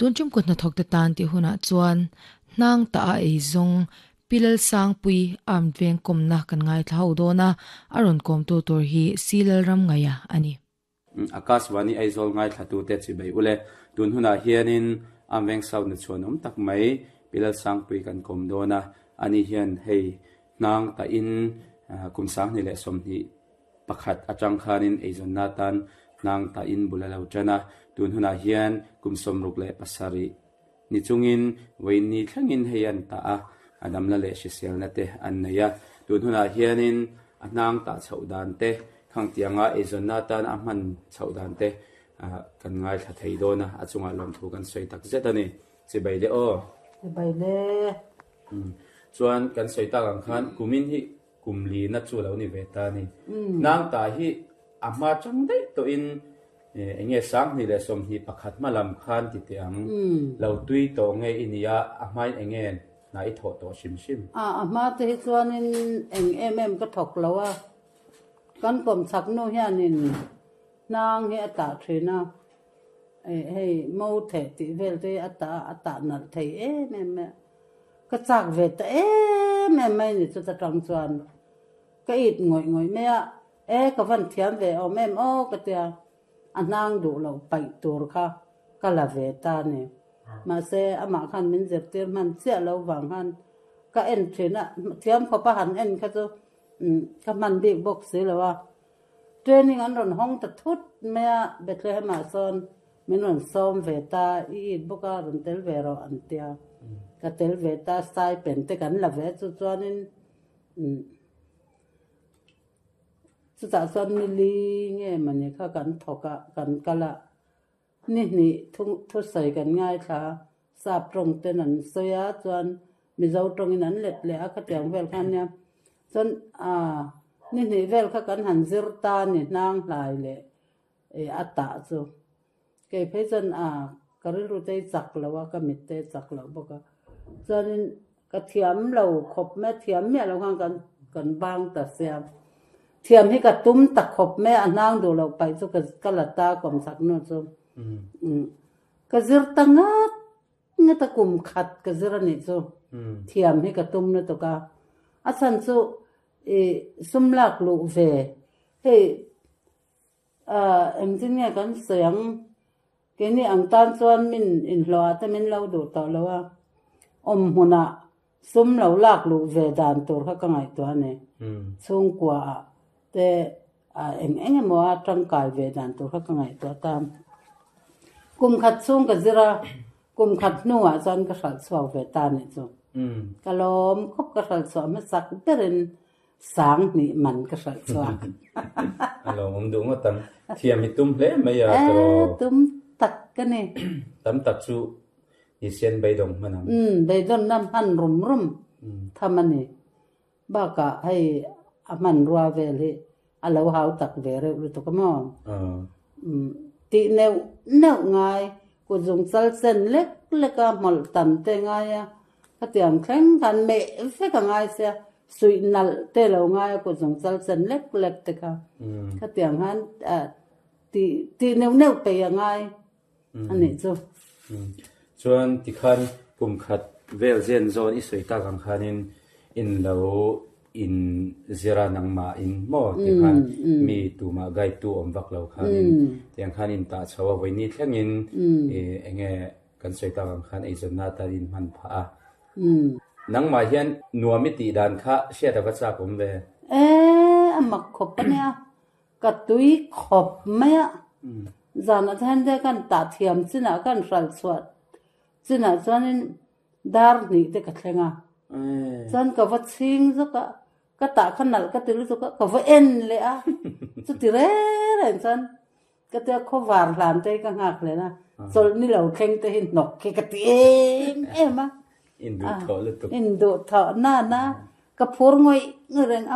Tun tum kut hnathawkte tan tih hunah chuan hnang tah a ei zawng Pi Lalsangpui armed veng kawmna kan ngaithla ho dawn a, a rawn kawmtu tur hi Si Lalramngaia a ni. Akashvani Aizawl ngaithlatute chibai ule. Tun hunah hianin armed veng South na chhuan awm tak mai Pi Lalsangpui kan kawm dawn a, ani hian hei hnang tahin kum 2020 atang khanin eizawnna atan hnang tahin bul a lo tan a, tun hunah hian kum 67 ni chungin vawiin thlengin hei an tah a, a damna leh hriselna te an nei a, tun hunah hianin a hnang tah chhoh dan te, khang tianga eizawnna atan a hman chhoh dan te kan ngaithla thei dawn a, a chungah lawmthu kan sawi tak zet a ni. Chibai le aw. Chibai le. Chuan kan sawi tak ang khan kumin hi kum li na chu lo ni ve ta a ni. Nang ta hi a hma chang daih tawhin eng nge 2021 hma lam khan ti teh ang. Lo tui tawh nge i nia a hmain eng nge hna i thawh tawh hrim hrim. A a hma te hi chuanin eng em em ka thawk lo a, kan kawmchhak nu hianin hnang hi a tah thin a, hei mo theh tih vel te hi a tah a, a tah nalh thei em em mai a. Ka chak ve ta em em mai ni chuta tang chuan ka it ngawih ngawih mai a, e ka van thiam ve awm em aw ka tia, a hnang duh loh paih tur kha ka la ve ta ni. Mahse amah khan min zirtir hman chiah lo vang khan ka en thin a, thiam khawp a han en kha chu ka hman bik bawk si lo a. Training an rawn hawng ta thut mai a, Bethlehem ah sawn Min rawn sawm ve ta, i it bawk a, rawn tel ve rawh an tia. Ka tel ve ta, stipend te kan la ve chu chuanin chutah chuan nili nge mawni kha kan thawk a, kan kal a, ni hnih thusawi kan ngaithla a, sap tawng ten an sawi a, chuan Mizo tawngin an let leh a, khatiang vel kha ania. Chuan ni hnih vel kha kan han zir ta a ni, hnang hlai leh E a tah chu kei phei chuan a ka rilru te hi chak lo a, ka mit te chak loh bawk a, chuanin ka thiam lo khawp mai a, thiam miah lo khan kan kan bang ta sia, thiam hi ka tum ta khawp mai a, a hnang duh loh paih chu ka ka la ta kawm chak nu chu ka zir ta ngat ngat a kum khat ka zir a nih chu, thiam hi ka tum lutuk a, a chhan chu i sum lak luh ve hei. Engtin nge kan sawi ang? Keini ang tan chuan min inhlawhah te min lo duh tawh lo a, awm hmunah sum lo lak luh ve dan tur kha ka ngaihtuah a ni. Chhungkuaah te eng eng emaw a tangkai ve dan tur kha ka ngaihtuah ta. Kum khat chhung ka zir a, kum khat hnuah chuan ka hralh chhuak ve ta a nih chu. Ka lawm khawp ka hralh chhuah hmasak berin 2000 man ka hralh chhuak. A lo awm duh ngawt ang. Thiam i tum hle mai a tawh. E, tum tak ka ni. Tam tak chu i sian beidawng hman ang. Umm, beidawnna hman rum rum tham a ni. Bakah hei a hmanrua vel hi a lo hau tak ve reuh lutuk a maw? Umm, tih neuh neuh ngai, kutzung chal chen lek lek a hmawlh tam te ngai a, Khatiang thleng khan meh vek a ngai sia, suih nalh te lo ngai a kutzung chal chen lek lek te kha. Khatiang khan tih tih neuh neuh peih a ngai a nih chu. Chuan tikhan kum khat vel zen zawn i sawi tak ang khanin in lo in zir a nangmah in maw tikhan mi tumah guide tu awm vak lo khanin tiang khan in tah chho a vawiini thlengin eng nge Kan sawi tak ang khan eizawnna atan in hman phah a. Nangmah hian nuam i tih dan kha hriat a va chak awm ve. E, a mak khawp a nia. Ka tui khawp mai a. Zanah te hian te kan tah thiam chinah kan hralh chhuah chinah chuanin dar hnih te ka thleng a. Chuan ka va chhing zawk a, ka tah kha nalh ka ti lutuk a, ka va en leh a. Chuti reng reng chuan Ka tia khawvar hlan te hi ka nghak hlen a, chawlh ni lo thleng te hi hnawk hi ka ti em em a. Induh thawh lutuk. Induh thawh nana ka phur ngawih ngawih reng a.